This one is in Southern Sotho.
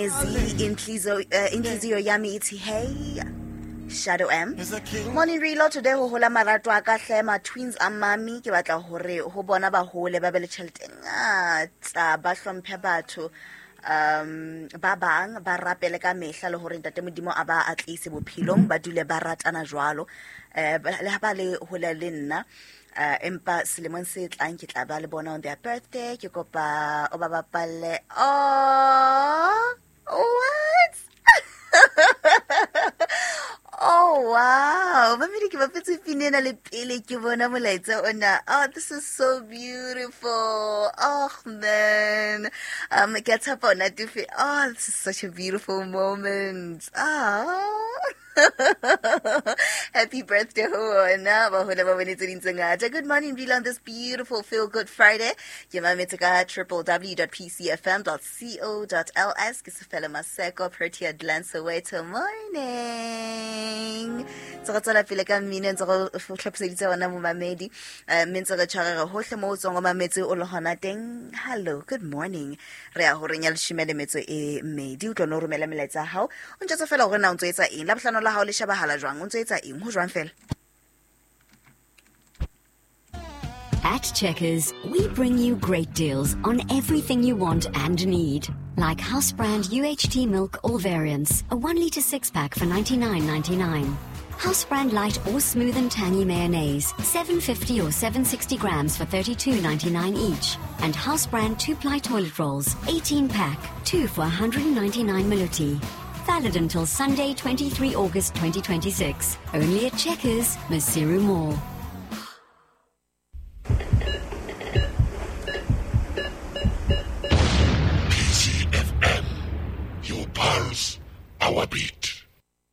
Inhliziyo yami ithi hey. Shadow M. Morning Relo, today ho hola marato a ka hle ma twins a mami ke batla hore ho bona ba hole ba be le tjhelete e ngata, ba hlomphe batho, ba bang ba rapele ka mehla le hore ntate Modimo a ba atlise bophelong, ba dule ba ratana jwalo. Le ha ba le hole le nna, empa selemong se tlang ke tla ba le bona on their birthday. Ke kopa o ba bapalle. Oh, what? Oh, wow. Mamedi ke bapetse pina ena le pele ke bona molaetsa ona. Oh, this is so beautiful. Oh, man. Ke a tshepa o natefe. Oh, this is such a beautiful moment. Oh. Happy birthday ho ona ba hole ba bone tse ding tse ngata. Good morning, Rila, on this beautiful Feel Good Friday. Ke mametse ka www.pcfm.co.ls. Ke Sefela Maseko, Protea Glen, Soweto. Morning. Ntse re tswela pele ka mmino, ntse re hlophiseditse ona momamedi. Mme ntse re tshwarega hohle moo o tswang o mametse o le hona teng. Hello, good morning. Re ya horeng ya leshome le metso e mmedi. O tlo no romela melaetsa ya hao. O ntjwetse fela hore na o ntso etsa eng. Labohlano la hao le shebahala jwang? O ntso etsa eng? Ho jwang fela? At Checkers, we bring you great deals on everything you want and need. Like house brand UHT milk all variants, a 1 litre 6-pack for $99.99. House brand light or smooth and tangy mayonnaise, 750 or 760 grams for $32.99 each. And house brand 2-ply toilet rolls, 18-pack, 2 for 199 Maluti. Valid until Sunday, 23 August 2026. Only at Checkers, Maseru Mall. PCFM, your pulse, our beat.